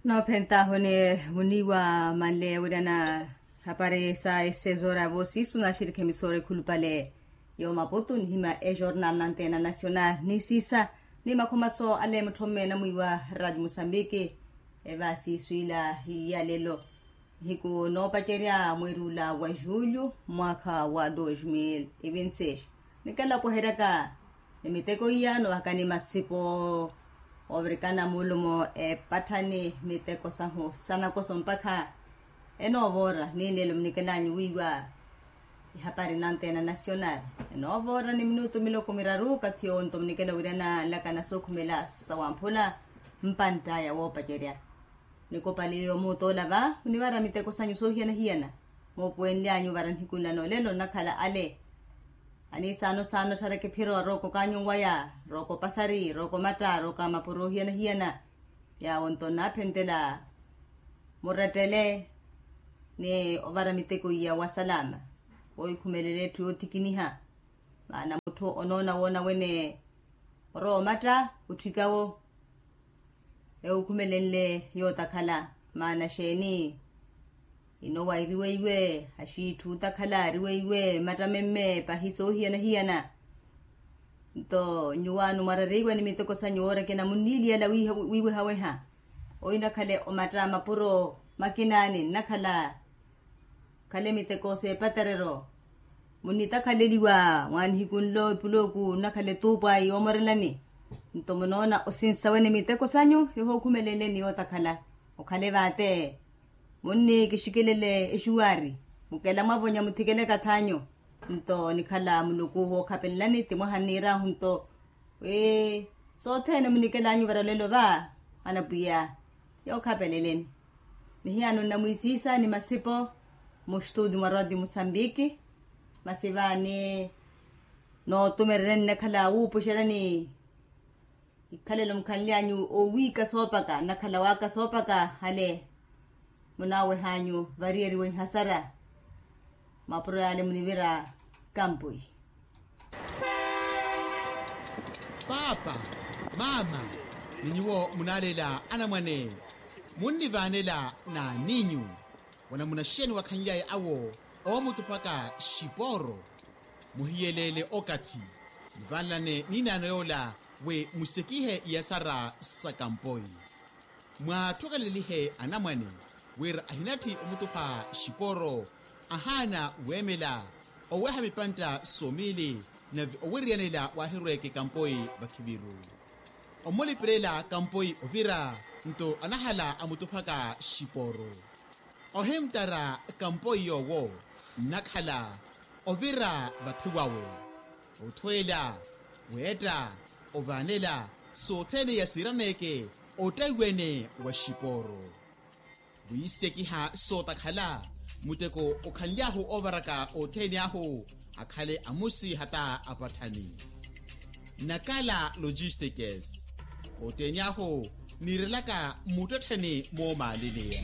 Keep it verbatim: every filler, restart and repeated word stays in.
Noophentaahu ni muniiwa manle wira na hapari sa esezora voosiisu naxirikha emisoora ekhulupale. Yo maputu nihima ejornal nantena nacional nisiisa ni makhomaso ale mutthomme namwiiwa radio mosambiki. Evaasiisu ila hiyalelo nihiku noopacerya mweeri ula wa julho mwaakha wa dos mil e vinte seis. Nikela opoheryaka ni miteko iya noovakani masipo ovirikana mulumo epatthani miteko sahu sanakoso mpakha enoovoora ni nlelo munikelanyu wiiwa ihapari nantena nacional. Enoovoora ni minutu miloko miraru kathi yonto munikela wira nanlaka nasookhumela sawamphula mpantt'aya woopacerya. Nikopaliyo muutoola va munivara miteko sanyu soohiyana-hiyana. Moopuwenly'anyu vara nihiku nla noolelo nnakhala ale aniisaano-saano ottharaka ephiro arooko kaanyunwaya, rooko pasari rooko matta rooko amapuro ohiyana-hiyana. Yaawo nto nnaaphentela murettele ni ovara miteko iya wa salama. Wohikhumelela etthu yootikiniha maana mutthu onoona woona wene orowa omatta otthikawo. Ewukhumelenle yootakhala maana xeeni? Inowa iriweiwe axiitthu otakhala ariweiwe matta memme pahi soohiyana-hiyana. Nto nyuwaano mwarariiwa ni miteko sanyu woorekena munniiliyala wiiwehaweha oinakhale omatta mapuro makinaani nnakhala khale miteko s'epaterero. Munnitakhaleliwa mwaanihiku nlo epulooku nnakhala etuupu ayi yoomorelani. Nto munoona osinsa wene miteko sanyu ehookhumelenle ni yootakhala okhale vaate. Munnikixikelele exuwaari mukela mwavonya muthikele ekath'anyu. Nto nikhala muluku wookhapelelani ti mwaha nniir'ahu nto wi sothene munikelanyu varalelo va anapwiya yookhapeleleni. Nihiyano nnamwiisiisa ni masipo muxtuuti mwa radio musambiki. Masi vaani nootumerereni nnakhala wuupuxelani ikhalelo mukhanly'anyu owiika soopaka nnakhala waaka soopaka hale munaaweh'anyu variyeriwa ihasara. Mapuro yaale munivira kampoi. Paapa, maama, ni nyuwo munaaleela anamwane munnivaanela n'aninyu? Wanamunaxeni wakhanly'aya awo oomutuphaka xipooro. Muhiyeleele okathi muvanlane niinaano yoola wi musekihe iyasara sa kampoi. Mwaathokelelihe anamwane wira ahinatthi omutupha xipooro ahaana weemela oweha mipantta somiili nave owiriyanela waahirweeke kampoi vakhiviru. Omulipirela kampoi ovira nto anahala amutuphaka xipooro. Ohimttara kampoi yoowo nnakhala ovira vathi wawe othweela weetta ovaanela sothene yasiiraneeke ottaiwene wa xipooro. Wiisekiha sootakhala muteko okhanly'ahu oovaraka othene ahu akhale amusi hata apatthani. Nakala logistikes othene ahu niirelaka muttettheni moomaaleleya.